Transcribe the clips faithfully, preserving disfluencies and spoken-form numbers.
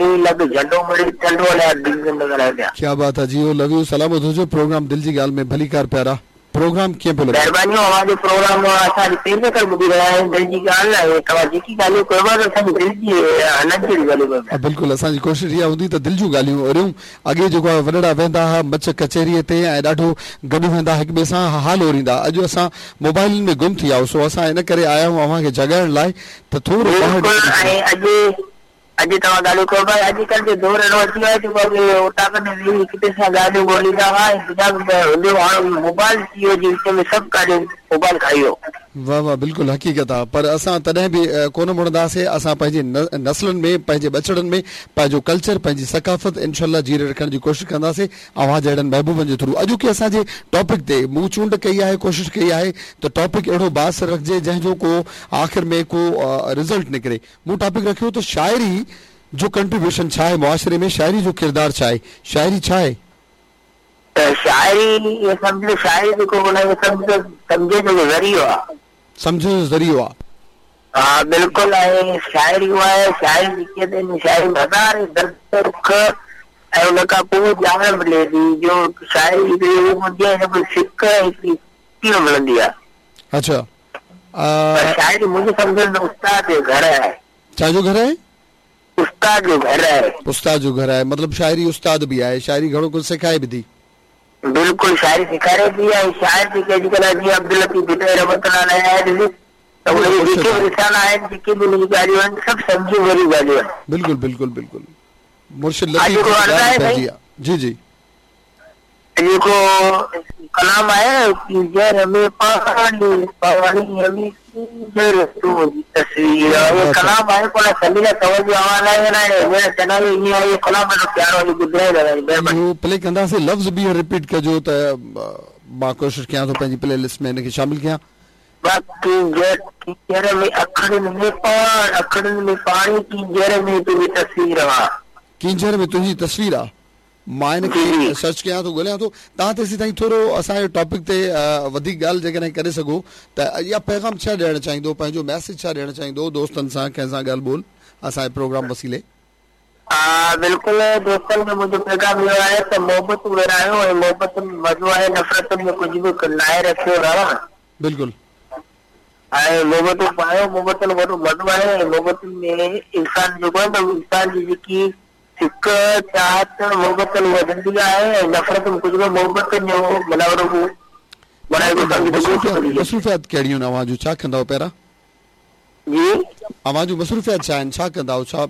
Colony لڳ جهنڊو مڙي ٽنڊو الهيار ڊويزن مان ڳالهايو پيا. ڪيا بات آ جيو لو يو سلامت هجو پروگرام دل جي ڳالهه ۾ ڀليڪار پيارا پروگرام ڪيئن پيو لڳي. مهربانيون اوهان جو پروگرام اسان اڄ پهرين دفعو ٻڌي رهيا آهيون دل جي ڳالهه ۽ توهان جيڪي ڳالهيون ڪيو پيا ته اسان جي دل جي هلن جهڙيون ڳالهيون ڪيو پيا. بلڪل اسان جي ڪوشش اها هوندي ته دل جون ڳالهيون اوريون اڳي جيڪو آهي وڏڙا ويهندا ها مچ ڪچهريء تي ۽ ڏاڍو گڏ ويهندا هڪ ٻئي سان حال اوريندا اڄ اسان موبائلن ۾ گم ٿي ويا آهيون سو اسان ان ڪري آيا آهيون اوهان کي جاڳائڻ لاء ته ٿورو ٻاهر بلڪل نڪري ۽ اڄ اڄ توهان ڳالهيون ڪيو پيا اڄڪلهه جو دور اهڙو اچي ويو آهي جيڪو اڳي اوطاقن ۾ ويهي هڪ ٻئي سان ڳالهيون ٻوليندا هئا ۽ دنيا به هوندو هو هاڻ موبائل ٿي ويو جي وچ ۾ سڀ ڳالهيون موبائل کائي ويو. واه واه بلڪل حقيقت آ پر اسان تڏهن به ڪونه مڙنداسي اسان پنهنجي نسلن ۾ پنهنجي ٻچڙن ۾ پنهنجو ڪلچر پنهنجي ثقافت انشاء الله جيئري رکڻ جي ڪوشش ڪنداسي اوهان جهڙن محبوبن جي ٿرو اڄوڪي اسان جي ٽاپڪ تي مون چونڊ ڪئي آهي ڪوشش ڪئي آهي ته ٽاپڪ اهڙو بااثر رکجي جنهن جو ڪو آخر ۾ ڪو رزلٽ نڪري مون ٽاپڪ رکيو ته شاعري جو ڪنٽريبيوشن ڇا آهي معاشري ۾ شاعري جو ڪردار ڇا آهي شاعري ڇا آهي؟ ته شاعري ائين سمجهه ته شاعري جيڪو ان کي سمجهه سمجهه جو ذريعو آهي. سمجهه جو ذريعو آهي. ها بلڪل ۽ شاعري اها آهي شاعري جيڪي آهي شاعري ۾ هزارين درد دک ۽ ان کان پوء ڄاڻ ملي ٿي جو شاعري هڪڙي هو هوندي آهي هن ۾ سڪ ۽ هڪڙي خوشي ملندي آهي. اڇا. پر شاعري منهنجي سمجهه ۾ استاد جو گهر آهي. ڇا جو گهر آهي؟ استاد جو گهر آهي. استاد جو گهر آهي مطلب شاعري استاد به آهي شاعري گهڻو ڪجهه سيکائي به ٿي. بلڪل شاعري سيکاري ٿي ۽ شاعر جيڪي اڄڪلهه جيئن عبداللطيف ڀٽائي رحمت الله عليه آهي ڏسي ته ان جي جيڪي به رسالا آهن جيڪي به ان جون ڳالهيون آهن سڀ سمجهه ڀريون ڳالهيون آهن. بلڪل بلڪل بلڪل مرشد اڄ لطيف هڪڙو جي عرض ڳالهه آهي پنهنجي سائين. آ جي جي. جيڪو ڪلام آهي ڪينجهر ۾ پاڻي پاڻي ۾ ڪينجهر تنهنجي تصوير آ اهو ڪلام آهي پر سميرا ڪنول جو آواز آهي الائي هينئر چنائي ائين آهي اهو ڪلام ڏاڍو پيارو آهي ٻڌرائي دادا جي مهرباني. اهو پلي ڪنداسين لفظ ٻيهر رپيٽ ڪجو ته مان ڪوشش ڪيان ٿو پنهنجي پلي لسٽ ۾ ان کي شامل ڪيان. ٻه ڪينجهر ڪينجهر ۾ اکڙين ۾ پاڻ اکڙين ۾ پاڻي ڪينجهر ۾ تنهنجي تصوير آ. ڪينجهر ۾ تنهنجي تصوير آ. مان ان جي کي جي. سرچ ڪيان ٿو ڳوليان ٿو توهان تيسين تائين ٿورو اسان جي ٽاپڪ تي وڌيڪ ڳالهه جيڪڏهن ڪري سگهو ته يا پيغام ڇا ڏيڻ چاهيندو پنهنجو ميسيج ڇا ڏيڻ چاهيندو دوستن سان ڪنهن سان ڳالهه ٻولهه اسان جي پروگرام وسيلي. ها بلڪل دوستن کي منهنجو پيغام اهو آهي ته محبتون ورهايو ۽ محبتن ۾ مزو آهي نفرتن ۾ ڪجهه به ناهي رکيو راڻا. بلڪل. ۽ محبتون پايو محبتن ۾ وڏو مزو آهي ۽ محبتن ۾ انسان جيڪو آهي نه انسان جي جيڪي سڪ، چاهت، محبتن وڌندي آهي ۽ نفرت ۾ ڪجهه به محبتن جو معنيٰ وڏو معنيٰ هڪ سمجهه ته ڳوٺ مصروفيات ٿي ويو. مصروفيات ڪهڙيون آهن اوهان جون ڇا ڪندا آهيو پيارا؟ جي. اوهان جون مصروفيات ڇا آهن ڇا ڪندا آهيو ڇا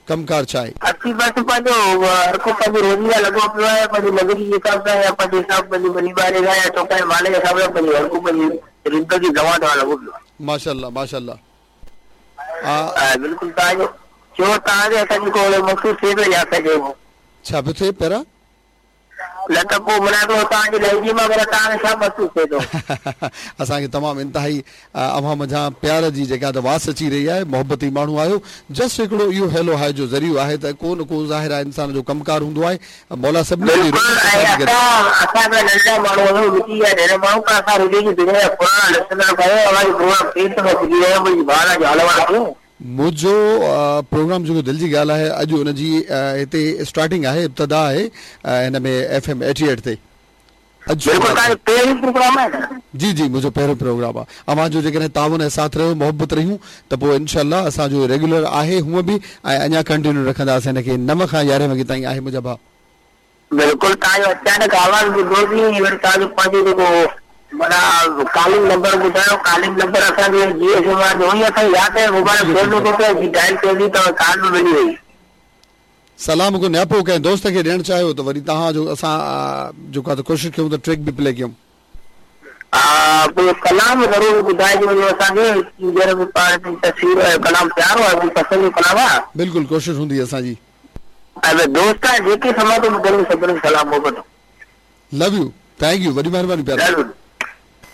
ڪم ڪار ڇا آهي؟ اسين بس پنهنجو هر ڪو پنهنجي روزي سان لڳو پيو آهي پنهنجي مزوري جي حساب سان يا پنهنجي حساب پنهنجي ٻني ٻاري سان يا چوپائي مال جي حساب سان پنهنجي هر ڪو پنهنجي زندگي دوان دوان لڳو پيو آهي. ماشاءالله ماشاءالله. ها بلڪل توهان جو چيو توهان کي اسان کي ڪو اهڙو محسوس ٿئي ٿو يا اسان کي ڇا پيو ٿئي پيارا؟ نه ته پوء معنيٰ هڪڙو توهان جي لهجي مان معنيٰ توهان کي ڇا محسوس ٿئي ٿو؟ اسان کي تمام انتهائي اوهان منجهان پيار جي جيڪا ته واس اچي رهي آهي محبتي ماڻهو آهيو جسٽ هڪڙو اهو هيلو هاء جو ذريعو آهي ته ڪو نه ڪو ظاهر آهي انسان جو ڪم ڪار هوندو آهي مولا سڀني جي بلڪل روزي ۽ آساني ڪري. اسان اسان هڪڙا ننڍڙا ماڻهو آهيون مٽي جا ڍير ماڻهو پر اسان ريڊيو جي دنيا جا پراڻا لسنر به آهيون اوهان جي پروگرام پهرين دفعو ٻڌي رهيا آهيون منهنجي ڀاء جو حال احوال ڪيو. منهنجو پروگرام جيڪو دل جي ڳالهه آهي اڄ ان جي هتي اسٽارٽنگ آهي ابتدا آهي هن ۾ ايف ايم ايٽي ايٽ تي اڄ بلڪل شروعات توهان آهي. جو پهريون پروگرام آهي نه. جي جي منهنجو پهريون پروگرام آهي اوهان جو جيڪڏهن تعاون ۽ ساٿ رهيو محبت رهيون ته پوء انشاء الله اسان جو ريگيولر آهي هونء به ۽ اڃا ڪنٽينيو رکنداسين هن کي نو کان يارهين وڳي تائين آهي منهنجا ڀاء. بلڪل توهان جو اچانڪ آواز ٻڌوسين ۽ وري توهان جو پنهنجو جيڪو معنيٰ ڪالنگ نمبر ٻڌايو ڪالنگ نمبر اسان کي جي ايس ايم آر جو ئي اسان کي ياد آهي موبائل بلڪل فون بلڪل. ۾ پيو جي ڊائل ڪيوسين ته ڪال به ملي وئي. سلام ڪو نياپو ڪنهن دوست کي ڏيڻ چاهيو ته وري توهان جو اسان جيڪو آهي ته ڪوشش ڪيون ته ٽريڪ به پلي ڪيون. ها پوء ڪلام ضرور ٻڌائجو وڃو اسان کي ڪينجهر ۾ پاڻ جي تصوير ۽ ڪلام پيارو آهي منهنجي پسند جو ڪلام آهي. بلڪل ڪوشش هوندي اسان جي. ۽ دوست آهن جيڪي سماٽو ٻڌن سڀني کي سلام محبتون. لو you thank you وڏي مهرباني پيارا. ضرور.